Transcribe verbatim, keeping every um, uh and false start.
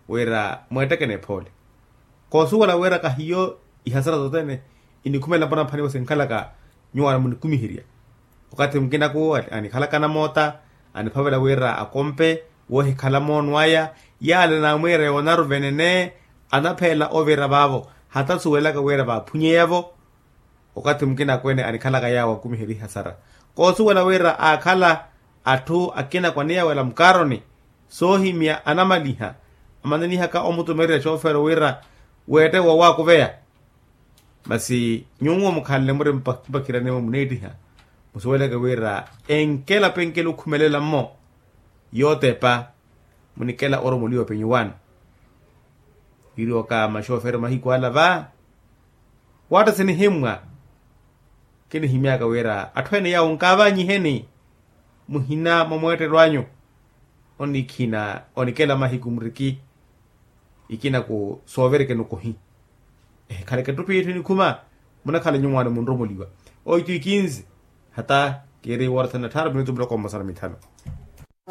wira mweettekene ephoole. Koosuwela wira kahiyo ihasara sothene inikhumela mpanampaniwa sinkhalaka nyuwaana munikumiherya. Wakathi mukinaku anikhalaka namoota aniphavela wira akompe wohikhala moono aya. Yaale naamwiira yoonaru venene anapheela ovira vaavo hata suwelaka wira vaaphunyeyavo. Wakathi mukinaku ene anikhalaka yaawo akumiherya ihasara koosuwela wira aakhala atthu akina kwaniyawela mukaaroni soohimya anamaliha amananihaka omutumererya xoofero wira weette wowaakuveya. Masi nyuwo mukhanle muri mpakhiraniwe muneettiha musuweleke wira enkela penkela okhumelela-mmo yootepa munikela oromoliwa penyuwaano. Wiriwaka maxoofero mahiku ala va waatta sinihimmwa. Kinihimyaka wira atthu ene yaawo nkaavanyiheni muhina mwa mweettelo anyu. Onikhina onikela mahiku muriki ikinaku sooverekeni okohi ehikhaleke ettupi yetthu enikhuma munakhala nyuwaano munromoliwa. Oitu ikinzi hata kiiri woorathana tthaaru minutu muloko mmosa na mithanu.